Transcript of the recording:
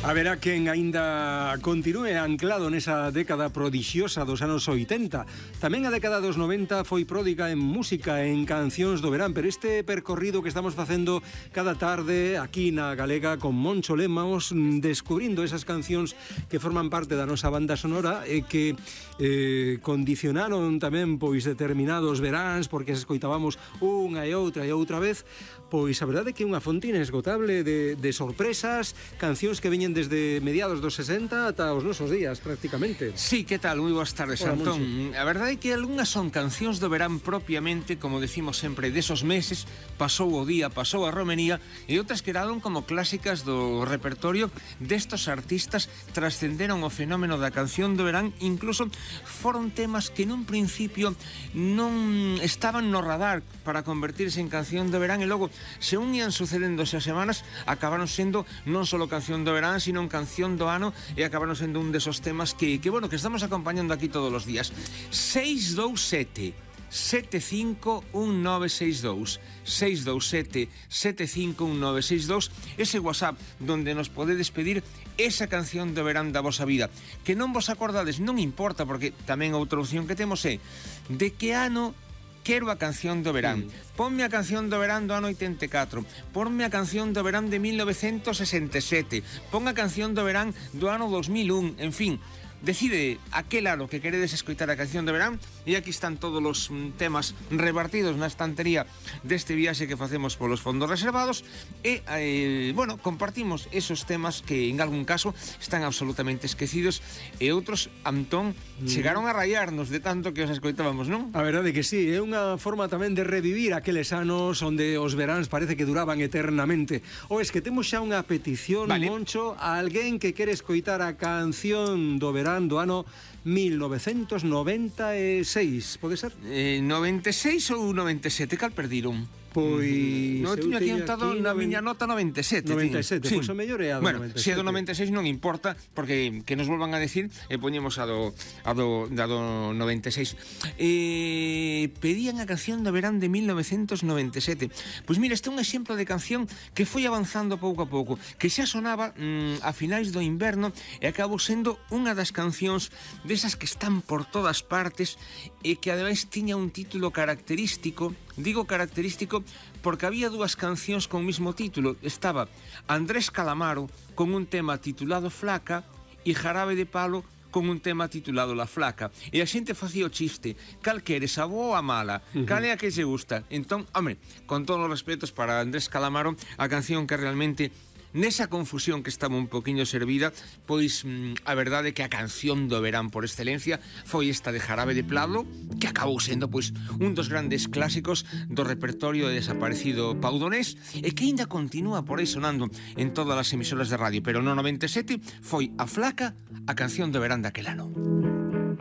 Haberá quen aínda continúe anclado nesa década prodixiosa dos anos 80. Tamén a década dos 90 foi pródiga en música, en cancións do verán, pero este percorrido que estamos facendo cada tarde aquí na Galega con Moncho Lemos, descubrindo esas cancións que forman parte da nosa banda sonora e que condicionaron tamén pois determinados veráns, porque se escoitábamos unha e outra vez, pois a verdade é que é unha fonte inesgotable de sorpresas, cancións que veñen desde mediados dos 60 ata os nosos días, prácticamente. Sí, que tal? Moi boas tardes, Hola, Antón. Moncho. A verdade é que algunhas son cancións do verán propiamente, como decimos sempre, desos meses, pasou o día, pasou a romería, e outras quedaron como clásicas do repertorio destos artistas, trascenderon o fenómeno da canción do verán, incluso foron temas que nun principio non estaban no radar para convertirse en canción do verán, e logo, según ian sucedéndose as semanas, acabaron sendo non só canción do verán, sino canción do ano, e acabaron sendo un desos temas que estamos acompañando aquí todos os días. 627 751962 627 751962, ese WhatsApp donde nos podedes pedir esa canción do verán da vosa vida, que non vos acordades, non importa, porque tamén outra opción que temos é de que ano quero a canción do verán. Ponme a canción do verán do ano 84. Ponme a canción do verán de 1967. Pon a canción do verán do ano 2001. En fin, decide aquel ano que queredes escoitar a canción do verán, e aquí están todos os temas repartidos na estantería deste viaxe que facemos polos fondos reservados, e, compartimos esos temas que en algún caso están absolutamente esquecidos, e outros, Antón, chegaron a rayarnos de tanto que os escoitábamos, non? A verdade que sí, é unha forma tamén de revivir aqueles anos onde os veráns parece que duraban eternamente. O es que temos xa unha petición, vale, Moncho, a alguén que quere escoitar a canción do verán do ano 1996, pode ser? 96 ou 97, cal perdiron? Pois non tiño aquí anotado na miña nota 97. 97, sí. Pois o mellor é a do 97. Se é do 96 non importa, porque que nos volvan a decir e poñemos a do 96. Pedían a canción do verán de 1997. Pois mira, este é un exemplo de canción que foi avanzando pouco a pouco, que xa sonaba a finais do inverno e acabou sendo unha das cancións desas que están por todas partes e que ademais tiña un título característico. Digo característico porque había dúas cancións con o mismo título. Estaba Andrés Calamaro con un tema titulado Flaca e Jarabe de Palo con un tema titulado La Flaca. E a xente facía o chiste: cal queres, a boa ou a mala? Cal é a que se gusta? Entón, home, con todos os respetos para Andrés Calamaro, a canción que realmente nesa confusión que estaba un poquinho servida, pois a verdade é que a canción do verán por excelencia foi esta de Jarabe de Palo, que acabou sendo pois un dos grandes clásicos do repertorio de desaparecido paudonés, e que ainda continúa por aí sonando en todas as emisoras de radio, pero no 97 foi a Flaca a canción do verán daquel ano.